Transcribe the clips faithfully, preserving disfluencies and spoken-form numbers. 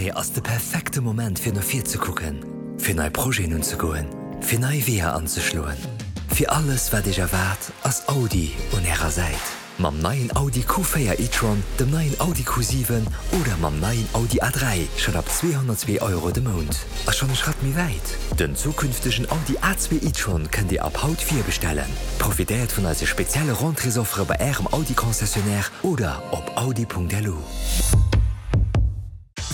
Rentrée ass de perfekte Moment fir no vir ze kucken, fir nei Projeten unzegoen, fir nei Weeër anzeschloen. Fir alles wat iech erwaart, ass Audi un ärer Säit. Mam neien Audi Q véier e-tron, dem neien Audi Q siwen oder mam neien Audi A dräi schonn ab zweehonnertzwee Euro de Mount. A schonn e Schratt méi wäit, Den zukünftegen Audi A zwee e-tron kënnt Dir ab haut virbestellen. Profitéiert vun eise spezielle Rentréesoffere bei Ärem Audi-Concessionnaire oder op audi.lu.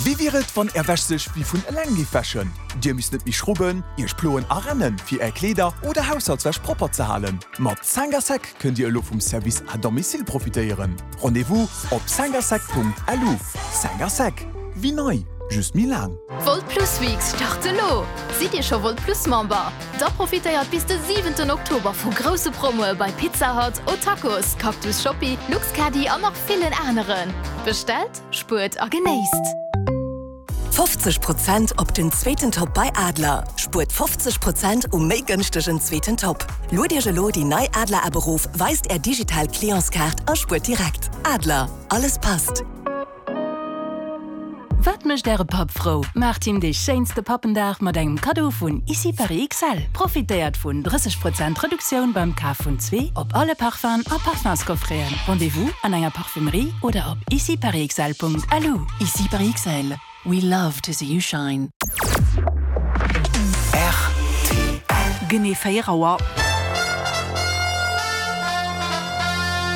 Wéi wier et, wann Är Wäsch sech wéi vun eleng géif wäschen? Dir misst net méi schrubben, Iech ploen a rennen, fir Är Kleeder oder Haushaltswäsch propper ze halen. Mat Cinq à sec kënnt Dir elo vum Service à domicile profitéieren. Rendez-vous op cinqasec.lu. Cinq à sec, wéi nei, just méi laang. Volt Plus Weeks start elo! Sidd Dir scho Volt Plus Member? Da profitéiert bis de siwenten Oktober vu grousse Promoe bei Pizza Hut, O'Tacos, Cactus Shoppi, Luxcaddy an nach villen aneren. Bestellt, spuert a genéisst! fofzeg Prozent op den zweeten Top bei Adler. Spuert fofzeg Prozent um méi gënschtegen zweeten Top. Luet Iech elo déi nei Adler App erof, weist Är digital Clientskaart a spuert direkt. Adler, alles passt. Wat mécht Äre Papp frou? Maacht him dee schéinste Pappendag mat engem Kaddo vun Ici Paris X L. Profitéiert vun drësseg Prozent Reduktioun beim Kaf vun zwee op alle Parfumsen a Parfumscoffreten. Rendez-vous an enger Parfumerie oder op iciparisxl.lu. Ici Paris X L. We love to see you shine. Genee véier Auer.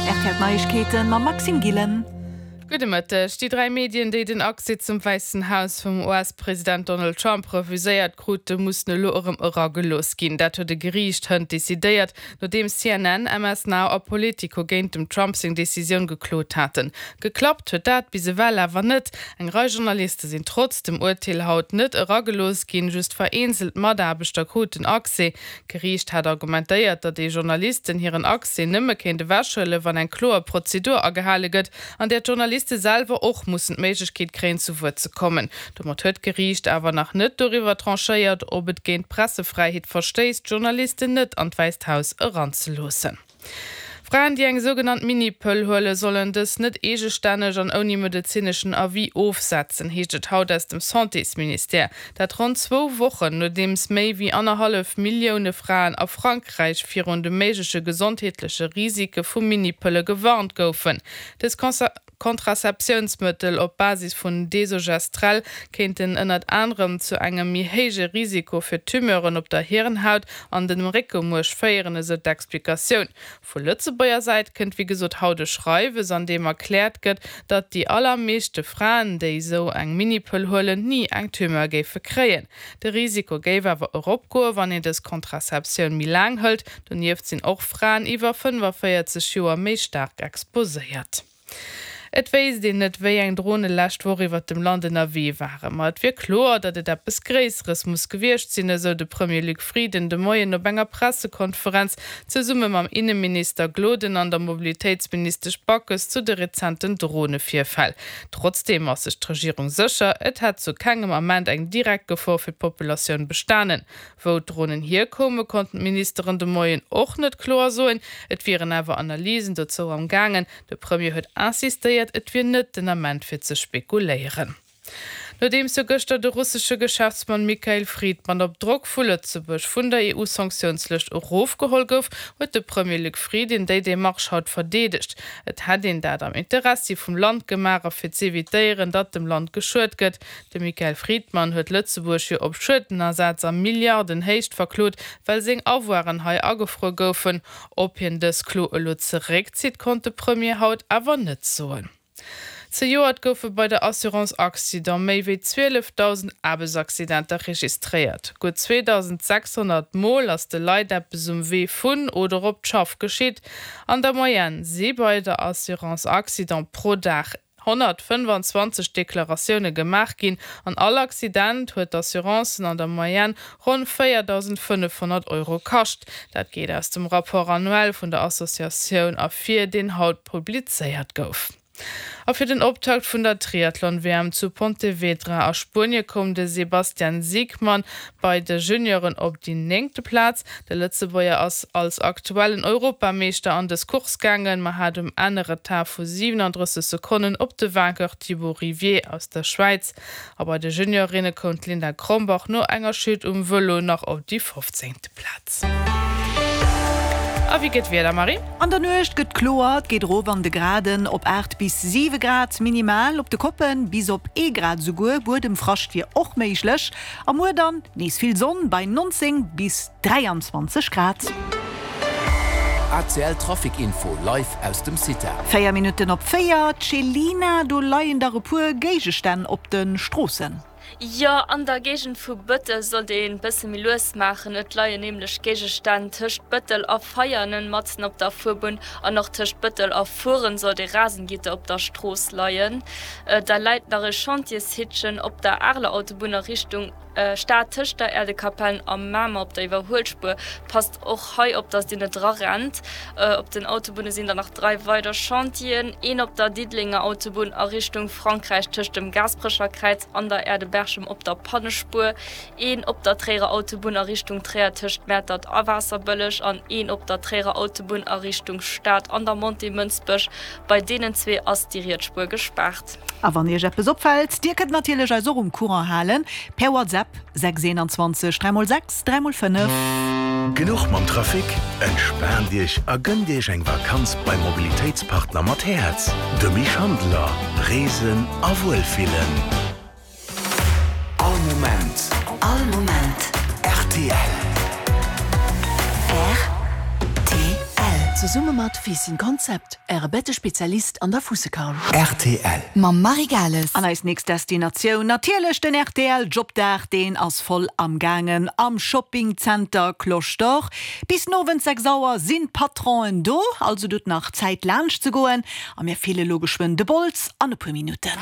R T L Neiegkeeten mam Maxime Gillen. Gudde Mëtteg. Déi dräi Medien, déi den Accès zum Wäissen Haus vum U S-President Donald Trump refuséiert krute, mussen elo erëm eragelooss ginn. Dat huet e Geriicht hënt decidéiert, nodeems C N N, M S Now a Politico géint dem Trump seng Decisioun geklot haten. Geklappt huet dat bis ewell awer net. Eng Rei Journaliste sinn trotz dem Urteel haut net eragelooss ginn, just vereenzelt Mataarbechter kruten Accès. D'Geriicht hat argumentéiert, datt ee Journalisten hiren Accès nëmme kéint ewechhuelen, wann eng kloer Prozedur agehale gëtt, an där d'Journaliste selwer och mussen d'Méiglechkeet kréien, zu Wuert ze kommen. Domat huet d'Geriicht awer nach net doriwwer tranchéiert, ob et géint d'Pressefräiheet verstéisst, Journalisten net an d'Wäisst Haus eranzeloossen. Fraen, déi eng sougenannt Minipëll huelen, sollen dës net eegestänneg an ouni medezineschen Avis ofsetzen, heescht et haut aus dem Santésministère. Dat ronn zwou Wochen, nodeems méi wéi annerhallef Millioune Fraen a Frankräich virun de méigleche gesondheetleche Risike vu Minipëlle gewarnt goufen. Dës Kontrazeptiounsmëttel op Basis vun Desogestrel kéinten ënnert anerem zu engem méi héije Risiko fir Tumeuren op der Hirnhaut an dem Réckemuerch féieren, esou d'Explikatioun. Vu Lëtzebuerger Säit kënnt wéi gesot haut e Schreiwes, an deem erkläert gëtt, datt déi allermeeschte Fraen, déi esou eng Minipëll huelen, ni eng Tumeur géife kréien. De Risiko géif awer eropgoen, wann een dës Kontrazeptioun méi laang hëlt. Donieft sinn och Fraen iwwer fënnefaféierzeg Joer méi staark exposéiert. Et wéisst een net, wéi eng Drone lescht Woch iwwert dem Land ënnerwee waren. Ma et wier kloer, datt et eppes Gréisseres muss gewiescht sinn, esou de Premier Luc Frieden de Moien op enger Pressekonferenz zesumme mam Inneminister Gloden an der Mobilitéitsministesch Backes zu de rezenten Dronevirfäll. Trotzdeem ass sech d'Regierung sécher, et hätt zu kengem Ament eng direkt Gefor fir d'Populatioun bestanen. Wou d'Dronen hierkoumen, konnten d'Ministeren de Moien och net kloer soen, et wieren awer Analysen dozou am gaangen. De Premier huet insistéiert, et wier net den Ament fir ze spekuléieren. Nodeems jo gëschter de russesche Geschäftsmann Mikhail Fridman op Drock vu Lëtzebuerg vun der E U-Sanktiounslëscht erofgeholl gouf, huet de Premier Luc Frieden déi Demarche haut verdeedegt. Et hätt een dat am Interessi vum Land gemaach a fir z'evitéieren, datt dem Land geschuet gëtt. De Mikhail Fridman huet Lëtzebuerg jo op Schuedenersaz a Milliardenhéicht verklot, well seng Avoiren hei agefruer goufen. Ob hien dës Klo elo zeréckzitt, konnt de Premier haut awer net soen. Zejoert goufe bei der Assurance Accident méi wéi zwielefdausend Aarbechtsaccidenter registréiert. Gutt zweedausendsechshonnert Mol ass de Leit eppes um Wee vun oder op d'Schaff geschitt. An der Moyenne si bei der Assurance Accident pro Dag honnertfënnefanzwanzeg Deklaratioune gemaach ginn. An all Accident huet d'Assurancen an der Moyenne ronn véierdausendfënnefhonnert Euro kascht. Dat geet aus dem Rapport annuel vun der Associatioun ervir, deen haut publizéiert gouf. A fir den Optakt vun der Triathlon-WM zu Pontevedra a Spuenie koum de Sebastian Siegmann bei de Junioren op déi néngte Plaz. De Lëtzebuerger ass als aktuellen Europameeschter an dës Course gaangen, ma hat um Enn e Retard vu siwenandrësseg Sekonnen op de Vainqueur Thibaut Rivier aus der Schwäiz. A bei de Juniorinne koum d'Linda Krombach no enger Chute um Vëlo nach op déi fofzéngte Plaz. A wéi gëtt d'Wieder, Marie? An der Nuecht gëtt kloer, et geet erof an de Graden op aacht bis siwe Grad minimal, op de Koppen bis op ee Grad esouguer. Buedemfrascht wier och méiglech. A muer dann nees vill Sonn bei nonzéng bis dräianzwanzeg Grad. A C L Trafic Info live aus dem Cita. Véier Minutten op véier, Céline, do leien dach e puer Géigestänn op de Stroossen. Jo, an der Géigend vu Bëttel sollt een bësse méi lues maachen. Et leien nämlech Géigestänn tëscht Bëttel a Veianen matzen op der Fuerbunn an och tëscht Bëttel a Furen sollt ee Rasengitter op der Strooss leien. Da läit nach e Chantiershitchen op der Areler Autobunn a Richtung Stad tëscht der Äerdekapellen a Mamer op der Iwwerhuelspuer. Passt och hei op, dass Dir net dra rennt. Op den Autobunne sinn der nach dräi weider Chantieren, een op der Diddelenger Autobunn a Richtung Frankräich tëscht dem Gaasperecher Kräiz an der Aerdeberchem op der Pannespuer, een op der Tréierer Autobunn a Richtung Tréier tëscht Mäertert a Waasserbëlleg an een op der Tréierer Autobunn a Richtung Stad an der Montée Mënsbech. Bei deenen zwee ass déi riets Spuer gespaart. A wann Iech eppes opfält, Dir kënnt natierlech eis och um Courant halen per WhatsApp, sechs eenanzwanzeg dräi mol sechs dräi mol fënnef. Genuch mam Trafic? Entspaant Iech a gënnt Iech eng Vakanz beim Mobilitéitspartner mat Häerz, de Mich Handeler. Reesen a Wuelfillen. All Moment. All Moment. Rtl. Rtl. Zesumme mat Fissin Concept, Äre Bettespezialist an der Fussekaul. Rtl. Mam Marie Gales. An eis nächst Destinatioun natierlech den rtl Jobdag, deen ass voll am gaangen am Shopping Center Cloche d'Or. Bis den Owend sechs Auer sinn d'Patronen do, also et hutt nach Zäit laanscht ze goen a mir fille lo geschwënn de Bols an e puer Minutten.